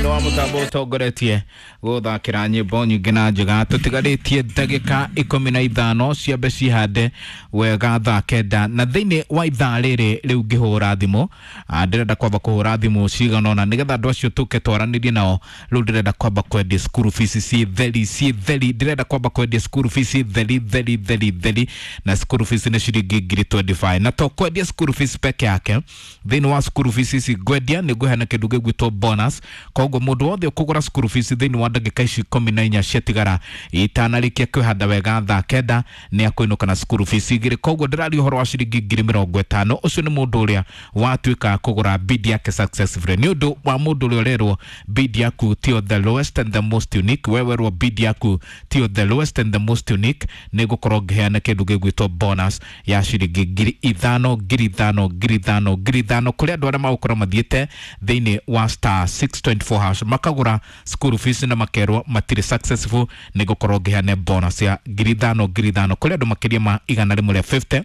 Thĩinĩ wa mũtambo ũtongoretie gũthakĩra nyĩmbo nyingĩ na njega. Tũtigarĩtie ndagĩka 15 ciambe cihande wega thaa 9, na thĩinĩ wa ithaa rĩrĩ rĩu ngĩhũra thimũ, ndĩrenda kwamba kũhũra thimũ cigana ũna nĩgetha andũ acio tũke twaranĩrie nao. Rĩu ndĩrenda kwamba kwendia school fees ciĩ theri, ciĩ theri. Ndĩrenda kwamba kwendia school fees theri theri theri theri, na school fees nĩ ciringi ngiri 25. Na to kwendia school fees peke yake, thĩinĩ wa school fees ici ngwendia nĩ ngũheana kĩndũ gĩgwĩtwo bonus. Koguo mũndũ wothe ũkũgũra school fees thĩinĩ wa ndagĩka ici 14 ciatigara itanarĩkia kwĩhanda wega thaa 9 nĩ akũinũka na school fees igĩrĩ. Koguo ndĩraria ũhoro wa ciringi ngiri 50. Ũcio nĩ mũndũ ũrĩa watuĩka kũgũra bid yake successfully. Nĩ ũndũ wa mũndũ ũrĩa ũrerwo bid yaku tio the lowest and the most unique, we werwo bid yaku tio the lowest and the most unique, nĩ ngũkorwo ngĩheana kĩndũ gĩgwĩtwo bonus ya ciringi ngiri ithano, ngiri ithano, ngiri ithano, ngiri ithano kũrĩ andũ arĩa magũkorwo mathiĩte thĩinĩ wa star 624 hash makagũra school fees na makerwo matirĩ successful. Nĩ ngũkorwo ngĩheana bonus ya ngiri ithano, ngiri ithano kũrĩ andũ makĩria ma 150,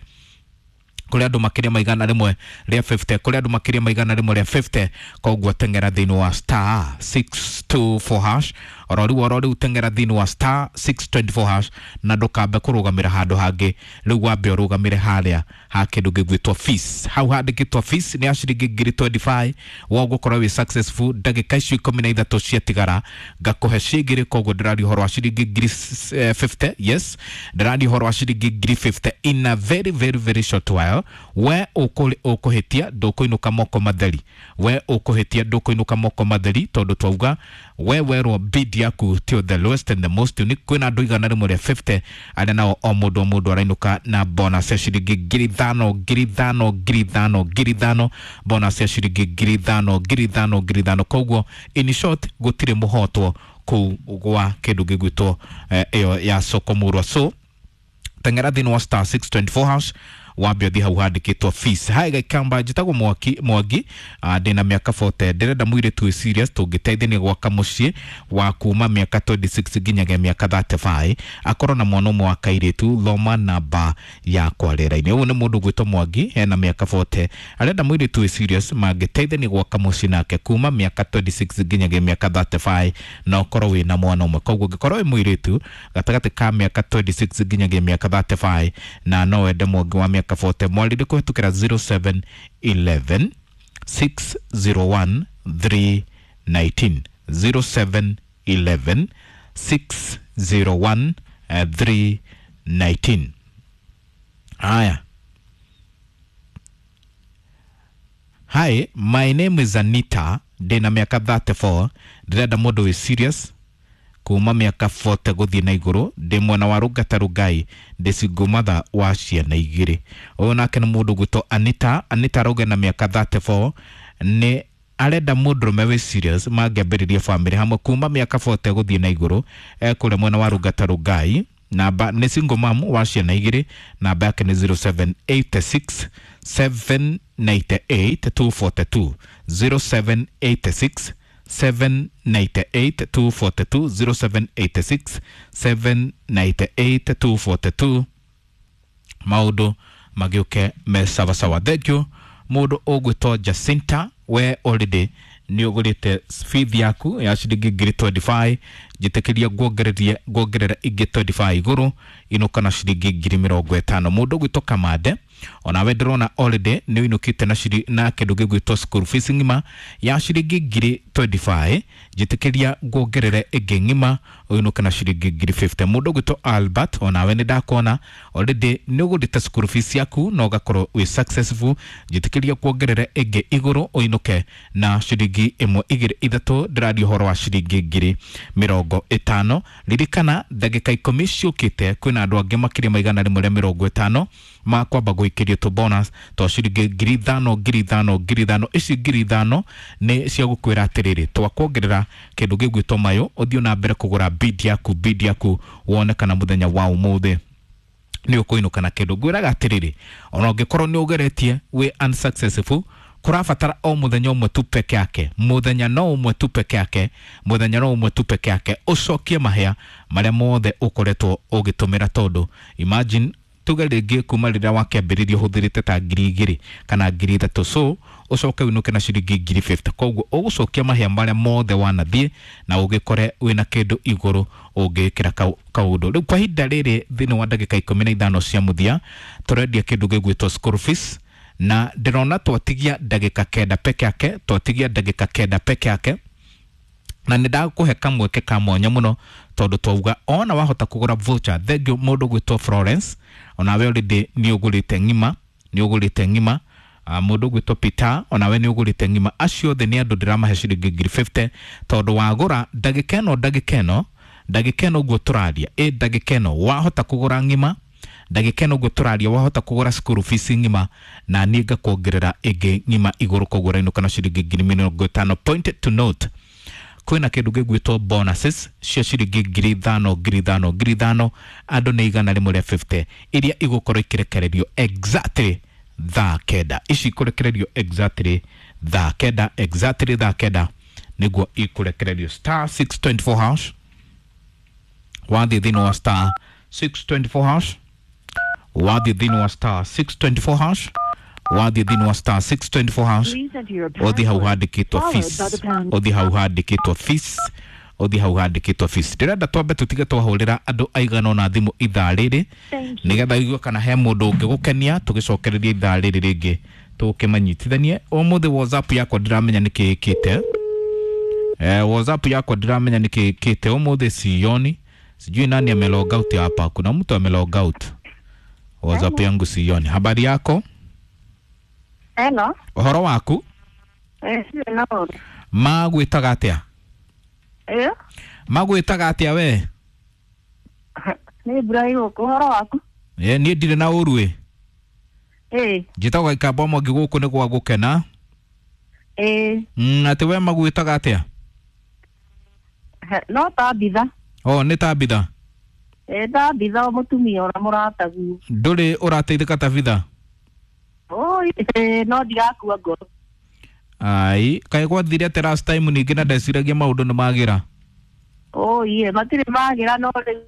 kũrĩ andũ makĩria ma 150, kũrĩ andũ makĩria ma 150. Koguo teng'era thĩinĩ wa star 624 hash ororiu ororiu, teng'era thĩinĩ wa star 624 hash na ndũkambe kũrũgamĩra handũ hangĩ. Rĩu wambe ũrũgamĩre harĩa ha kĩndũ gĩgwĩtwo fees, hau handĩkĩtwo fees nĩ ya ciringi ngiri 25. Wogũkorwo wĩ successful ndagĩka icio 13 ciatigara ngakũhe cigĩrĩ. Koguo ndĩraria ũhoro wa ciringi ngiri 50. Yes, ndĩraria ũhoro wa ciringi ngiri 50 in a very very very short while. We ũkũhĩtia ndũkũinũka moko matheri, we ũkũhĩtia ndũkũinũka moko matheri, tondũ twauga we werwo bid yaku tio the lowest and the most unique. Kwĩna andũ 150 arĩa nao o mũndũ o mũndũ arainũka na bonus ya ciringi ngiri ithano, ngiri ithano, ngiri ithano, ngiri ithano, bonus ya ciringi ngiri ithano, ngiri ithano, ngiri ithano. Koguo in short gũtirĩ mũhotwo kũu gwa kĩndũ gĩgwĩtwo ĩyo ya soko murwa. So teng'era thĩinĩ wa star 624 hash, wambe ũthiĩ hau handĩkĩtwo fees. Hai Gaikamba, njĩtagwo Mwaki Mwangi, ndĩna mĩaka 40, ndĩrenda mũirĩtu wĩ serious tũngĩteithania gwaka mũciĩ wa kuma mĩaka 26 nginyagia mĩaka 35, akorwo na mwana ũmwe wa kairĩtu. Thoma namba yakwa rĩera-inĩ. Ũyũ nĩ mũndũ gwĩtwo Mwangi, ena mĩaka 40, arenda mũirĩtu wĩ serious mangĩteithania gwaka mũciĩ nake kuma mĩaka 26 nginyagia mĩaka 35, na ũkorwo wĩna mwana ũmwe. Koguo ũngĩkorwo wĩ mũirĩtu gatagatĩ ka mĩaka 26 nginyagia mĩaka 35 na no wende Mwangi wa mĩaka 40, mwarĩrie kũhetũkĩra 0711 601 319, 0711 601 319. Haya. Hi, my name is Anita, ndĩna mĩaka 34, ndĩrenda mũndũ wĩ serious kuma mĩaka 40 gũthiĩ na igũrũ, ndĩ mwena wa Rũngata Rũngai, ndĩ single mother wa ciana igĩrĩ. Ũyũ nake nĩ mũndũ gwĩtwo Anita. Anita arauga na mĩaka 34 nĩ arenda mũndũrũme wĩ serious mangĩambĩrĩria family hamwe kuma mĩaka 40 gũthiĩ na igũrũ, ekũrĩa mwena wa Rũngata Rũngai, namba nĩ single mom wa ciana igĩrĩ, namba yake nĩ 0786 798 242, 0786 798 242, 0786 798 242. Maũndũ magĩũke me sawasawa. Thank you. Mũndũ ũgwĩtwo Jacinta, we already nĩ ũgũrĩte feed yaku ya ciringi ngiri 25, njĩtĩkĩria nguongererie nguongerera ingĩ 25 igũrũ, inũka na ciringi ngiri 50. Mũndũ ũgwĩtwo Kamande, onawe ndĩrona already nĩ ũinũkĩte na ciri na kĩndũ gĩgwĩtwo school fees ng'ima ya ciringi ngiri 25, njĩtĩkĩria nguongerere ĩngĩ ng'ima, ũinũke na ciringi ngiri 50. Mũndũ ũgwĩtwo Albert, onawe nĩ ndakuona already nĩ ũgũrĩte school fees yaku na ũgakorwo wĩ successful, njĩtĩkĩria kuongerere ĩngĩ igũrũ, ũinũke na ciringi ĩmwe igĩrĩ ithatũ. Ndĩraria ũhoro wa ciringi ngiri 50. Ririkana ndagĩka 10 ciũkĩte kwĩna andũ angĩ makĩria ma 150 makwamba gũikĩrio tũ bonus twa ciringi ngiri ithano, ngiri ithano, ngiri ithano. Ici ngiri ithano nĩ cia gũkwĩra atĩrĩrĩ, twakuongerera kĩndũ gĩgwĩtwo mayũ, ũthiĩ na mbere kũgũra bid yaku, bid yaku wone kana mũthenya wa ũmũthĩ nĩ ũkũinũka na kĩndũ. Ngwĩraga atĩrĩrĩ, ona ũngĩkorwo nĩ ũgeretie wĩ unsuccessful, kũrabatara o mũthenya ũmwe tu peke yake, mũthenya no ũmwe tu peke yake, mũthenya no ũmwe tu peke yake, ũcokie mahĩa marĩa mothe ũkoretwo ũgĩtũmĩra, tondũ imagine Tuge rĩngĩ kuma rĩrĩa wakĩambĩrĩria ũhũthĩrĩte ta 2,000 kana 3,000, so ũcoke ũinũke na ciringi 50,000. Koguo ũgũcokia mahĩa marĩa mothe wanathiĩ na ũgĩkore wĩna kĩndũ igũrũ ũngĩkĩra kaũndũ. Rĩu kwa ihinda rĩrĩ thĩinĩ wa ndagĩka 15 cia mũthia tũrendia kĩndũ gĩgwĩtwo school fees, na ndĩrona twatigia ndagĩka 9 peke yake, twatigia ndagĩka 9 peke yake, na nĩ ndakũhe kamweke ka mwanya mũno tondũ twauga ona wahota kũgũra voucher. Thengiũ mũndũ gwĩtwo Florence, onawe already nĩ ũgũrĩte ng'ima, nĩ ũgũrĩte ng'ima. Mũndũ gwĩtwo Peter, onawe nĩ ũgũrĩte ng'ima. Acio othe nĩ andũ ndĩramahe ciringi 50,000 tondũ wagũra ndagĩka ĩno, ndagĩka ĩno, ndagĩka ĩno ũguo tũraria, ĩ ndagĩka ĩno wahota kũgũra ng'ima, ndagĩka ĩno ũguo tũraria wahota kũgũra school fees ng'ima, na niĩ ngakuongerera ĩngĩ ng'ima igũrũ, koguo ũrainũka na ciringi 50,000. Point to note, kwĩna kĩndũ gĩgwĩtwo bonuses cia ciringi 5,000, 5,000, 5,000, andũ nĩ 150 iria igũkorwo ikĩrekererio exactly thaa 9. Ici ikũrekererio exactly thaa 9, exactly thaa 9 nĩguo ikũrekererio. Star 624 hash, wathiĩ thĩinĩ wa star 624 hash, wathiĩ thĩinĩ wa star 624 hash, wathiĩ thĩinĩ wa star 624 hash, ũthiĩ hau handĩkĩtwo fees, ũthiĩ hau handĩkĩtwo fees, ũthiĩ hau handĩkĩtwo fees. Ndĩrenda twambe tũtige twahũrĩra andũ aigana ũna thimũ ithaa rĩrĩ nĩgetha igue kana he mũndũ ũngĩgũkenia, tũgĩcokereria ithaa rĩrĩ rĩngĩ tũkĩmanyitithanie. Ũmũthĩ WhatsApp yakwa ndiramenya nĩkĩ ĩkĩte. WhatsApp yakwa ndiramenya nĩkĩ ĩkĩte ũmũthĩ, sioni, sijui nani amelog out hapa. Kuna mtu amelog out WhatsApp yangu, sioni. Habari yako? Hello. Ũhoro waku? Hello. Magwĩtaga atĩa? Magwĩtaga atĩa we? Nĩ Ibrahim gũkũ, ũhoro waku? Niĩ ndirĩ na ũru ĩ. Njĩtagwo Gĩkamba Mwangi, gũkũ nĩ gwa gũkena. Atĩ we magwĩtaga atĩa? No Tabitha. O nĩ Tabitha? Tabitha o mũtumia ũrĩa mũrataguo. Ndũrĩ ũrateithĩka Tabitha? Oi, no ndigakua ngoro. Ai, kaĩ gwathire atĩa last time ningĩ na ndeciragia maũndũ nĩ magĩra? Oi, matirĩ magĩra, no rĩu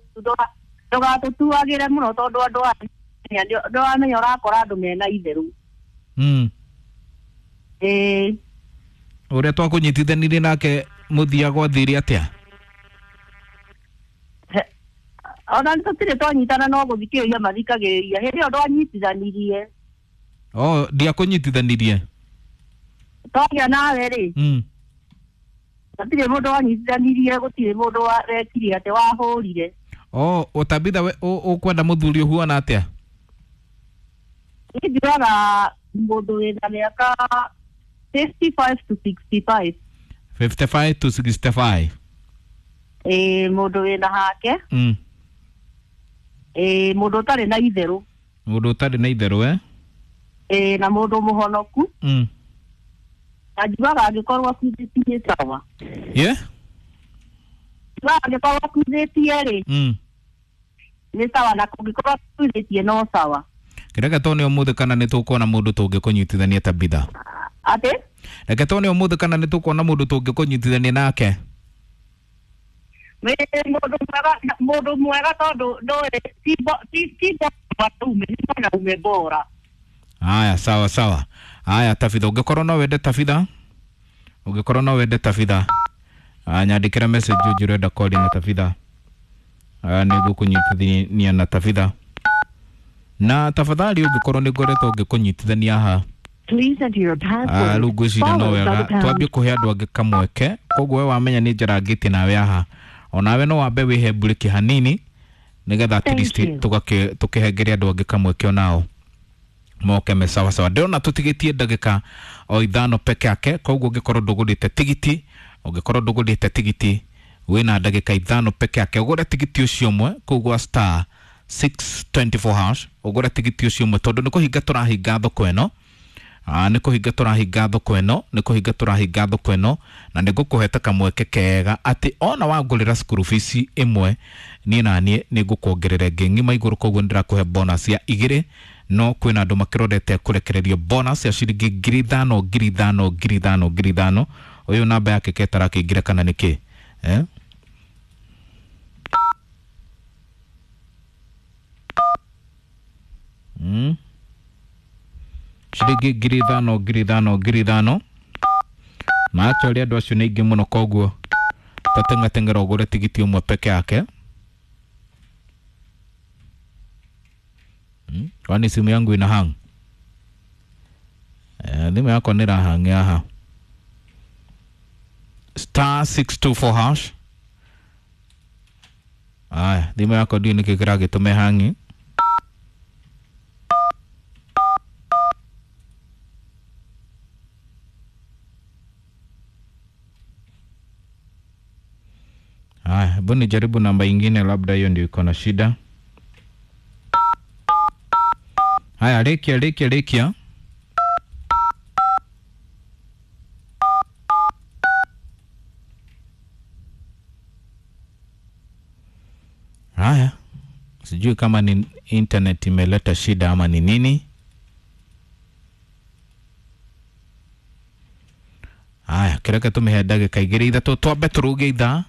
ndũgatũtuagĩre mũno tondũ andũ aya ndũramenya ũrakora andũ mena itherũ. Ũrĩa twakũnyitithanirie nake mũthia gwathire atĩa? Ona tũtirĩ twanyitana, no gũthikĩrĩria mathikagĩrĩria. Hĩndĩ ĩyo ndwanyitithanirie. Oh, ndiakũnyitithanirie? Twagĩa nawe rĩ. Gũtirĩ mũndũ wanyitithanirie, gũtirĩ mũndũ wekire atĩ wahũrire. Oh, Tabitha we ũkwenda mũthuri ũhuana atĩa? Niĩ njugaga mũndũ wĩna mĩaka 55 to 65. 55 to 65. Mũndũ wĩna hake. Mũndũ ũtarĩ na itherũ. Mũndũ ũtarĩ na itherũ, eh? Na mũndũ mũhonoku. Na njugaga angĩkorwo akuithĩtie sawa. Njugaga angĩkorwo akuithĩtie rĩ, nĩ sawa, na kũngĩkorwo akuithĩtie no sawa. Reke tuone ũmũthĩ kana nĩ tũkuona mũndũ tũngĩkũnyitithania Tabitha. Atĩ? Reke tuone ũmũthĩ kana nĩ tũkuona mũndũ tũngĩkũnyitithania nake. Mũndũ mwega tondũ ndũĩ ti mwanaume, nĩ mwanaume bora. Aya, sawa sawa. Aya Tabitha, ũngĩkorwo no wende Tabitha, ũngĩkorwo no wende Tabitha, nyandĩkĩra message ũnjĩre ũrenda kwaria na Tabitha. Nĩngũkũnyitithania na Tabitha. Na tafadhali ũngĩkorwo nĩ ngoretwo ngĩkũnyitithania haha, rĩu ngwĩciria no wega twambie kũhe andũ angĩ kamweke. Koguo we wamenya nĩ njarangĩtie nawe haha, onawe no wambe wĩhe mburĩki hanini nĩgetha at least tũkĩhengere andũ angĩ kamweke onao moke me sawa sawa. Ndĩrona tũtigĩtie ndagĩka o 5 peke yake, koguo ũngĩkorwo ndũgũrĩte tigiti, ũngĩkorwo ndũgũrĩte tigiti wĩna ndagĩka 5 peke yake, ũgũre tigiti ũcio ũmwe kũu gwa star 624 hash, ũgũre tigiti ũcio ũmwe tondũ nĩ kũhinga tũrahinga thoko ĩno. Nĩ kũhinga tũrahinga thoko ĩno, nĩ kũhinga tũrahinga thoko ĩno, na nĩ ngũkũheta kamweke kega atĩ ona wangũrĩra school fees ĩmwe, niĩ na niĩ nĩ ngũkuongerera ĩngĩ ng'ima igũrũ, koguo nĩ ndĩrakũhe bonus ya 2, no kwĩna andũ makĩrorete kũrekererio bonus ya ciringi 5,000, 5,000, 5,000, 5,000. Ũyũ namba yake ketarakĩingĩra kana nĩkĩ? Ciringi 5,000 5,000 5,000. Na actually andũ acio nĩ aingĩ mũno, koguo tateng'ateng'era ũgũre tigiti ũmwe peke yake. Kwani simu yangu ina hang? Thimũ yakwa nĩ ĩrahang haha. Star 624 hash. Aya, thimũ yakwa ndiũĩ nĩkĩ kĩragĩtũma ĩhangi. Haya, hebu nijaribu namba ingine, labda hiyo ndio iko na shida. Haya, rekia rekia rekia. Haya, sijui kama ni internet imeleta shida ama ni nini. Haya, kĩreke tũmĩhe ndagĩka igĩrĩ ithatũ twambe tũrũge ithaa,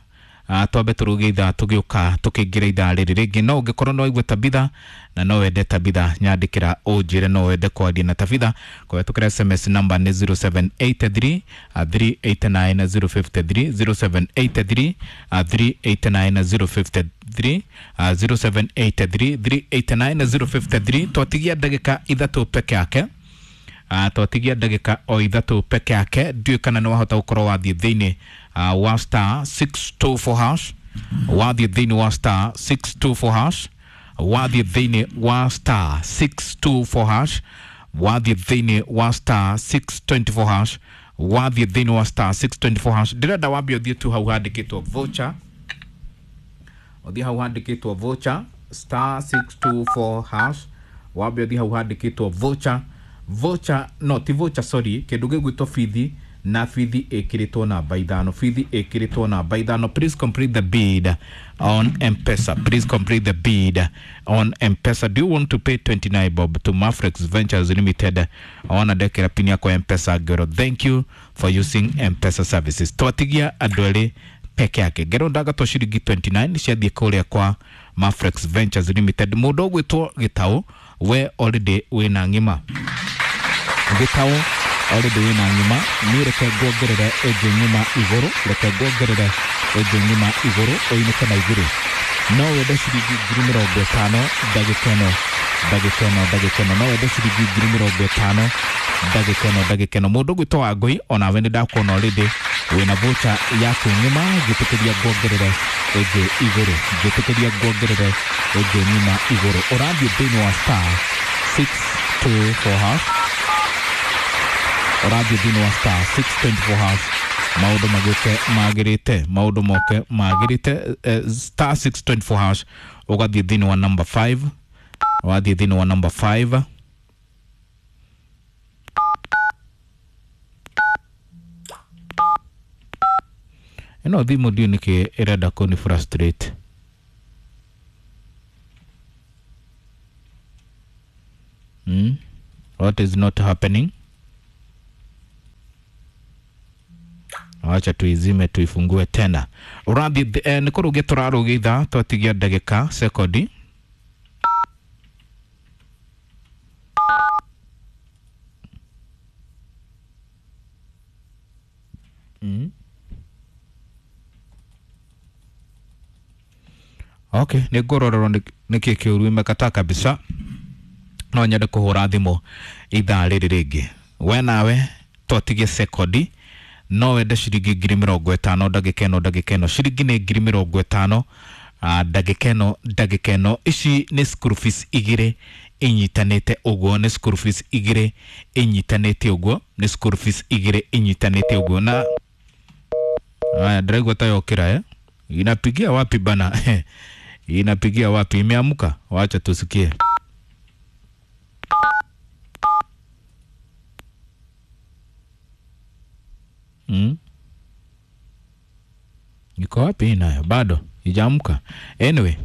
twambe tũrũge ithaa tũgĩũka tũkĩingĩra ithaa rĩrĩ rĩngĩ. No ũngĩkorwo no waigua Tabitha na no wende Tabitha, nyandĩkĩra ũnjĩre no wende kwaria na Tabitha kũhetũkĩra SMS namba nĩ 0783 389 053, 0783 389 053, 0783 389 053. Twatigia ndagĩka ithatũ peke yake. Twatigia ndagĩka o ithatũ peke yake. Ndiũĩ kana nĩ wahota gũkorwo wathiĩ thĩinĩ wa star 624 hash, wathiĩ thĩinĩ wa star 624 hash, wathiĩ thĩinĩ wa star 624 hash, wathiĩ thĩinĩ wa star 624 hash, wathiĩ thĩinĩ wa star 624 hash. Ndĩrenda wambe ũthiĩ tu hau handĩkĩtwo voucher, ũthiĩ hau handĩkĩtwo voucher star 624 hash, wambe ũthiĩ hau handĩkĩtwo voucher, voucher no ti voucher, sorry, kĩndũ gĩgwĩtwo bithi, na bithi ĩkĩrĩtwo namba ithano, bithi ĩkĩrĩtwo namba ithano. Please complete the bid on M-Pesa, please complete the bid on M-Pesa. Do you want to pay 29 bob to Mafrex Ventures Limited? Ona ndekĩra pini yakwa M-Pesa ngero. Thank you for using M-Pesa services. Twatigia andũ erĩ peke yake. Ngero ndagatwo ciringi 29 ciathiĩ kũrĩa kwa Mafrex Ventures Limited. Mũndũ ũgwĩtwo Gĩtaũ, we already wĩna ng'ima. Gĩtaũ already wĩna ng'ima. Niĩ reke nguongerere ĩngĩ ng'ima igũrũ, reke nguongerere ĩngĩ ng'ima igũrũ, ũinũke na igĩrĩ. No wende ciringi 50,000 ndagĩka ĩno, ndagĩka ĩno, ndagĩka ĩno. No wende ciringi 50,000 ndagĩka ĩno, ndagĩka ĩno. Mũndũ ũgwĩtwo Wangũi, onawe nĩ ndakuona already wĩna voucher yaku ng'ima, ngĩtĩkĩria nguongerere ĩngĩ igũrũ, ngĩtĩkĩria nguongerere ĩngĩ ng'ima igũrũ. Ũrathiĩ thĩinĩ wa star 624 hash, ũrathiĩ thĩinĩ wa star 624 hash, maũndũ magĩũke magĩrĩte, maũndũ moke magĩrĩte. Star 624 hash, ũgathiĩ thĩinĩ wa number 5, wathiĩ thĩinĩ wa number 5. Ĩno thimũ ndiũĩ nĩkĩ ĩrenda kũni frustrate. What is not happening? Wacha tuizime tuifungue tena. Ũrathiĩ nĩ kũrũgia tũrarũgia ithaa, twatigia ndagĩka sekondi. Okay, nĩ ngũrorerwo nĩkĩ kĩũru imekataa kabisa. No nyende kũhũra thimũ ithaa rĩrĩ rĩngĩ. We nawe twatigie sekondi, no wende ciringi 50,000 ndagĩka ĩno, ndagĩka ĩno. Ciringi nĩ 50,000 ndagĩka ĩno, ndagĩka ĩno. Ici nĩ school fees igĩrĩ inyitanĩte ũguo, nĩ school fees igĩrĩ inyitanĩte ũguo, nĩ school fees igĩrĩ inyitanĩte ũguo. Na haya, ndĩraigua ta yokĩra, eh? Inapigia wapi bana? Inapigia wapi? Imeamka? Wacha tusikie. Iko wapi nayo? Bado ijaamka. Anyway,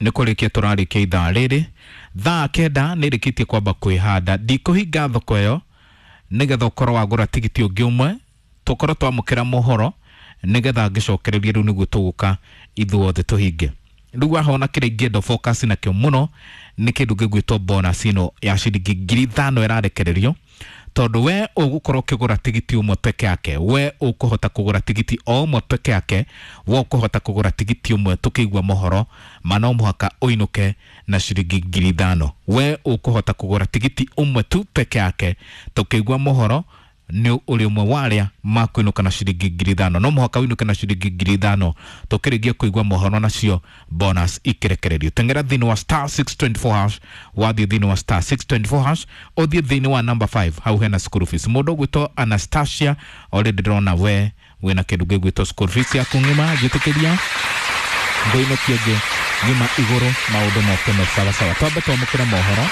nĩ kũrĩkia tũrarĩkia ithaa rĩrĩ. Thaa kenda nĩ rĩkĩtie kwamba kwĩhanda. Ndikũhinga thoko ĩyo nĩgetha ũkorwo wagũra tigiti ũngĩ ũmwe, tũkorwo twamũkĩra mohoro nĩgetha ngĩcokererie rĩu nĩguo tũgũka ithuothe tũhinge. Rĩu ahona kĩrĩa ingĩenda focus nakĩo mũno nĩ kĩndũ gĩgwĩtwo bonus ĩno ya ciringi 5,000 ĩrarekererio, tondũ we ũgũkorwo ũkĩgũra tigiti ũmwe peke yake, we ũkũhota kũgũra tigiti o ũmwe peke yake, we ũkũhota kũgũra tigiti ũmwe tũkĩigua mohoro ma no mũhaka ũinũke na ciringi 5,000. We ũkũhota kũgũra tigiti ũmwe tu peke yake tũkĩigua mohoro nĩ ũrĩ ũmwe wa arĩa makuinũka na ciringi 5,000. No mũhaka ũinũke na ciringi 5,000 tũkĩrĩkia kũigua mohoro nacio bonus ikirekererio. Tengera thĩinĩ wa star 624 hash, wathiĩ thĩinĩ wa star 624 hash, ũthiĩ thĩinĩ wa number 5 hau hena school fees. Mũndũ ũgwĩtwo Anastasia already ndĩrona we wĩna kĩndũ gĩgwĩtwo school fees yaku ng'ima, njĩtĩkĩria ngũinũkie ngĩ ng'ima igũrũ maũndũ moke me sawasawa. Twambe twamũkĩre mohoro.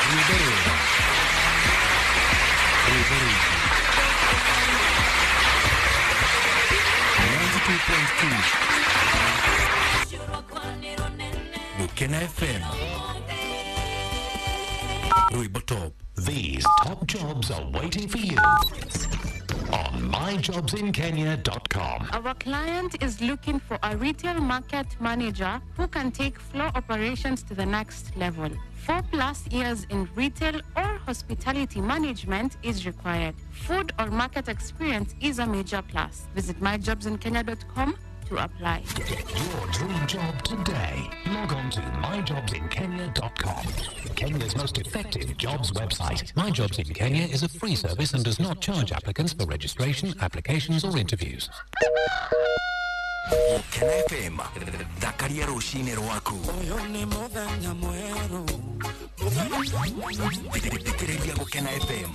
Gukena FM. Rwimbo Top. These top jobs are waiting for you on myjobsinkenya.com. Our client is looking for a retail market manager who can take floor operations to the next level. 4+ years in retail or hospitality management is required. Food or market experience is a major plus. Visit myjobsinkenya.com to apply. Get your dream job today. Log on to myjobsinkenya.com. Kenya's most effective jobs website. My Jobs in Kenya is a free service and does not charge applicants for registration, applications or interviews. Gukena FM. Thakaria rũcinĩ rwaku. Thikĩrĩria Gukena FM.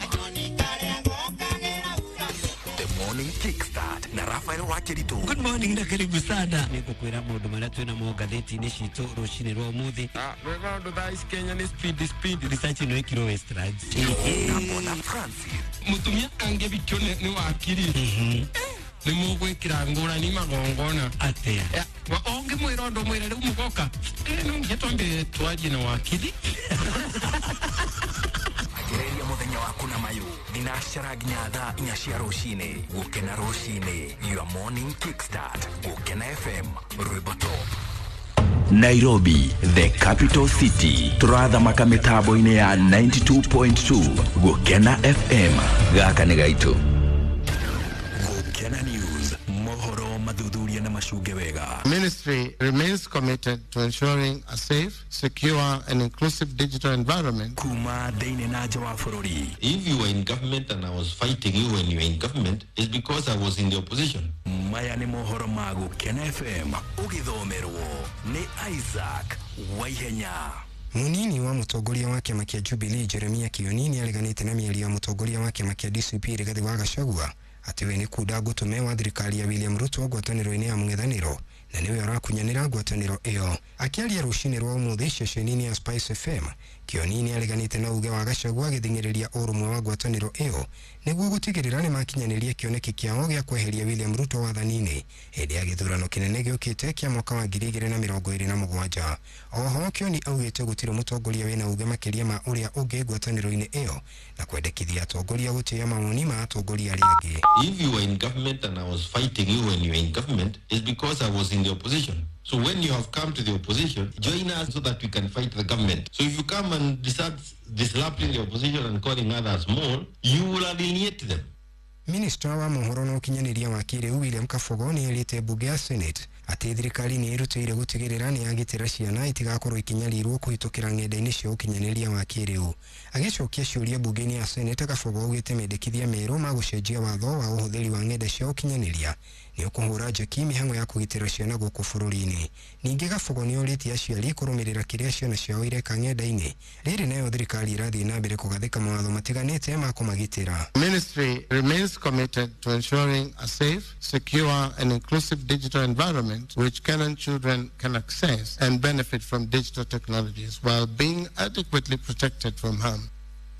The Morning Kickstart na Rafael Wakiritu. Good morning na karibu sana. Nĩngũkwĩra maũndũ marĩa twĩ namo ngathĩti-inĩ citũ rũcinĩ rwa ũmũthĩ. Wega ũndũ thaa ici Kenya nĩ speed speed. Research ĩno ĩkirwo Westlands. Na Bona Francis. Mũtumia angĩbikio nĩ wakiri nĩ mũgwĩkĩra ngũrani magongona. Atĩa? Ũngĩmwĩra ũndũ mwĩre rĩu mũgoka no nginya twambe twarie na wakiri. Anjĩrĩria mũthenya waku na mayũ thinacara nginya thaa 4 cia rũcinĩ. Gũkena rũcinĩ, your morning kickstart. Gũkena FM, Rwimbo Top. Nairobi, the capital city. Turathamaka mĩtambo-inĩ ya 92.2 Gũkena FM. Gaka nĩ gaitũ. Gũkena News, mohoro mathuthuria na macunge wega. Ministry remains committed to ensuring a safe, secure and inclusive digital environment. Kuma thĩinĩ na nja wa bũrũri. If you were in government and I was fighting you when you were in government, it's because I was in the opposition. Maya nĩ mohoro ma Gũkena FM ũgĩthomerwo nĩ Isaac Waihenya. Munini wa mũtongoria wa kĩama kĩa Jubilee Jeremia Kioni nĩareganĩte na mĩario ya mũtongoria wa kĩama kĩa DCP Rigathi wa Gachagua atĩ we nĩ kunda ngũtũme wa thirikari ya William Ruto ngwatanĩro-inĩ ya mũng'ethanĩro na nĩwe ũrakunyanĩra ngwatanĩro ĩyo. Akĩaria rũcinĩ rwa ũmũthĩ ceceni-inĩ ya Spice FM, Kioni nĩareganĩte na uge wa Gachagua agĩthing'ĩrĩria ũrũmwe wa ngwatanĩro ĩyo nĩguo gũtigĩrĩra nĩmakinyanĩria kĩoneki kĩao gĩa kweheria William Ruto wathani-inĩ hĩndĩ ya gĩthurano kĩnene gĩũkĩte kĩa mwaka wa 2027. Oho Kioni augĩte gũtirĩ mũtongoria wĩna uge makĩria ma ũrĩa ũngĩ ngwatanĩro-inĩ ĩyo na kwendekithia atongoria gũtĩĩa mawoni ma atongoria arĩa angĩ. If you were in government and I was fighting you when you were in government, it's because I was in the opposition. So when you have come to the opposition, join us so that we can fight the government. So if you come and start disrupting the opposition and calling others more, you will alienate them. Minista wa mohoro na ũkinyanĩria wa kĩrĩu William Kabogo nĩ erĩte mbunge ya Senate atĩ thirikari nĩ ĩrutĩire gũtigĩrĩra nĩ yagitĩra ciana itigakorwo ikinyarirwo kũhĩtũkĩra ng'enda-inĩ cia ũkinyanĩria wa kĩrĩu. Agĩcokia ciũria mbunge-inĩ ya Senate, Kabogo augĩte mendekithia merũ ma gũcenjia watho wa ũhũthĩri wa ng'enda cia ũkinyanĩria nĩ ũkũhũra njeki mĩhang'o ya kũgitĩra ciana gũkũ bũrũri-inĩ. Ningĩ Kabogo nĩ orĩtie aciari kũrũmĩrĩra kĩrĩa ciana ciao ireka ng'enda-inĩ. Rĩrĩ nayo thirikari ĩrathiĩ na mbere kũgathĩka mawatho matiganĩte ma kũmagitĩra. Ministry remains committed to ensuring a safe, secure and inclusive digital environment which Kenyan children can access and benefit from digital technologies while being adequately protected from harm.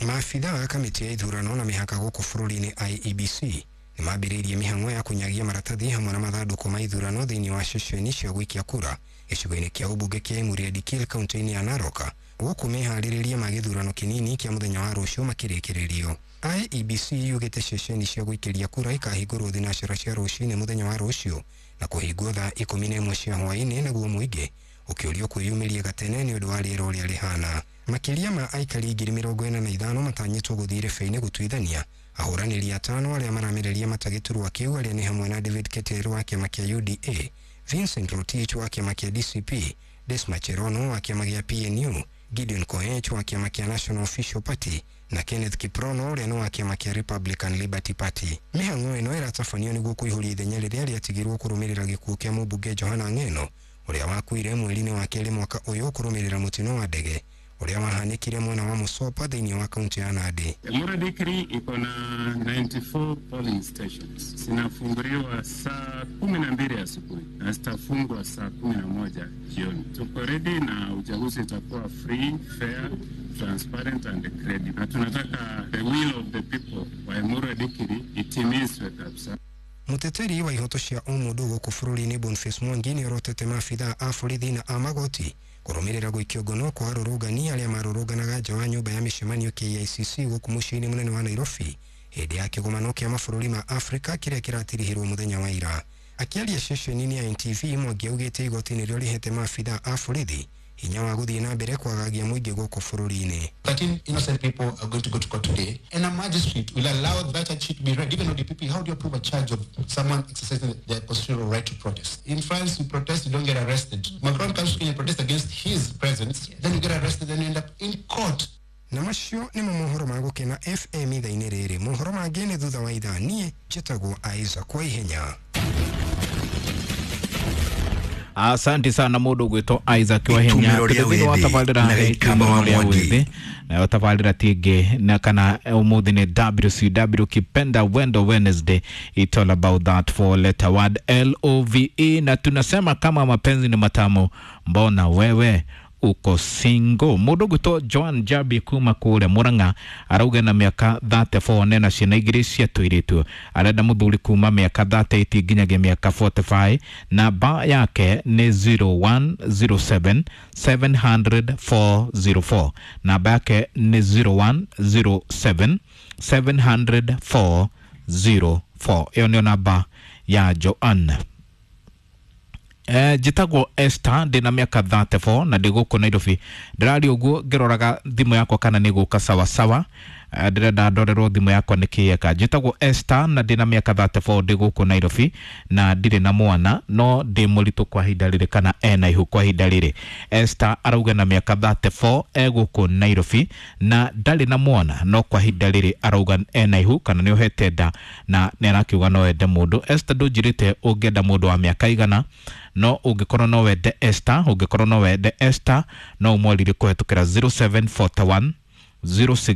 Maabitha a kamĩtĩ ya ithurano na mĩhaka gũkũ bũrũri-inĩ IEBC nĩmambĩrĩirie mĩhang'o ya kũnyagia maratathi hamwe na mathandũkũ ma ithurano thĩinĩ wa ceceni cia gũikia kura gĩcigo-inĩ kĩa ũmbunge kĩa Emurua Dikirr kaunti-inĩ ya Narok gũkũ meharĩrĩria ma gĩthurano kĩnini kĩa mũthenya wa rũciũ makĩrĩkĩrĩrio. IEBC yugĩte ceceni cia gũikĩria kura ikahingũrwo thinacara cia rũcinĩ mũthenya wa rũciũ na kũhingwo thaa 11 cia hwaĩ-inĩ nĩguo mũingĩ Ũkĩũrio kwĩyumĩria gatene nĩ ũndũ wa rĩera ũrĩa rĩhana. Makĩria ma aikari 45,000 matanyĩtwo gũthiĩ irebe-inĩ gũtuithania ahũranĩri atano arĩa maramereria mata gĩturwa kĩu, arĩa nĩ hamwe na David Keter wa kĩama kĩa UDA, Vincent Rotich wa kĩama kĩa DCP, Desma Cherono wa kĩama gĩa PNU, Gideon Koech wa kĩama kĩa National Official Party na Kenneth Kiprono ũrĩa nĩ wa kĩama kĩa Republican Liberty Party. Mĩhang'o ĩno ĩratabanio nĩguo kũihũria ithenya rĩrĩa rĩatigirwo kũrũmĩrĩra gĩkuũ kĩa mũmbunge Johana Ng'eno ũrĩa wakuire mweri-inĩ wa kerĩ mwaka ũyũ kũrũmĩrĩra mũtino wa ndege ũrĩa wahanĩkire mwena wa Musopa thĩinĩ wa kaunti ya Nandi. Emurua Dikirr iko na 94 polling stations, zinafunguliwa saa 12 asubuhi na zitafungwa saa 11 jioni. Tuko ready na uchaguzi itakuwa free, fair, transparent and credible, na tunataka the will of the people wa Emurua Dikirr itimizwe kabisa. Muteteri wa ihoto cia ũmũndũ gũkũ bũrũri-inĩ Boniface Mwangi nĩorotete maabithaa a borithi na a magoti kũrũmĩrĩra gũikio ngono kwa arũrũngani arĩa marũrũnganaga nja wa nyũmba ya mĩcemanio KICC gũkũ mũciĩ-inĩ mũnene wa Nairobi hĩndĩ ya kĩgomano kĩa mabũrũri ma Afrika kĩrĩa kĩratirihirwo mũthenya wa ira. Akĩaria ceceni-inĩ ya NTV, Mwangi augĩte igoti nĩrĩo rĩhete maabithaa a borithi hinya wa gũthiĩ na mbere kwagagia mũingĩ gũkũ bũrũri-inĩ. 13 innocent people are going to go to court today, and a magistrate will allow that charge to be read. Even on the DPP, how do you prove a charge of someone exercising their constitutional right to protest? In France, you protest, you don't get arrested. Macron comes to Kenya and protests against his presence, then you get arrested, then you end up in court. Na macio nĩmo mohoro ma Gũkena FM ithaa-inĩ rĩrĩ. Mohoro mangĩ nĩ thutha wa ithaa. Niĩ njĩtagwo Isaac kwa ihenya. Asante sana mundu gwitwo Isaac Wahenya. Itumĩro rĩa Thĩinĩ wa wĩthĩ tabarĩra na Gĩikamba wa rĩa Mwangi. wĩthĩ, nayo tabarĩra ti ĩngĩ na kana ũmũthĩ nĩ WCW Kipenda Wendo Wednesday. It's all about that four letter word LOVE, na tunasema kama mapenzi ni matamu, mbona wewe uko single? Mundu gwitwo Joan Jabi kuma kũrĩa Murang'a arauga na mĩaka 34 nena ciana igĩrĩ cia tũirĩtu, arenda mũthuri kuma mĩaka 38 nginyagia mĩaka 45. Namba yake nĩ 0107 700 404. Namba yake nĩ 0107 700 404. Ĩyo nĩyo namba ya Joan. Njĩtagwo Esther, ndĩna mĩaka 34 na ndĩ gũkũ Nairobi. Ndĩraria ũguo ngĩroraga thimũ yakwa kana nĩ gũka sawasawa. Ndĩrenda ndorerwo thimũ yakwa nĩ kĩeka. Njĩtagwo Esther na ndĩna mĩaka 34, ndĩ gũkũ Nairobi na ndirĩ na mwana, no ndĩ mũritũ kwa ihinda rĩrĩ kana ena ihu kwa ihinda rĩrĩ. Esther arauga na mĩaka 34 e gũkũ Nairobi na ndarĩ na mwana, no kwa ihinda rĩrĩ arauga ena ihu kana nĩ ohete nda na nĩ arakiuga no ende mũndũ. Esther, ndũnjĩrĩte ũngĩenda mũndũ wa mĩaka igana, no ũngĩkorwo no wende Esther, ũngĩkorwo no wende Esther no ũmwarĩrie kũhetũkĩra 0741 06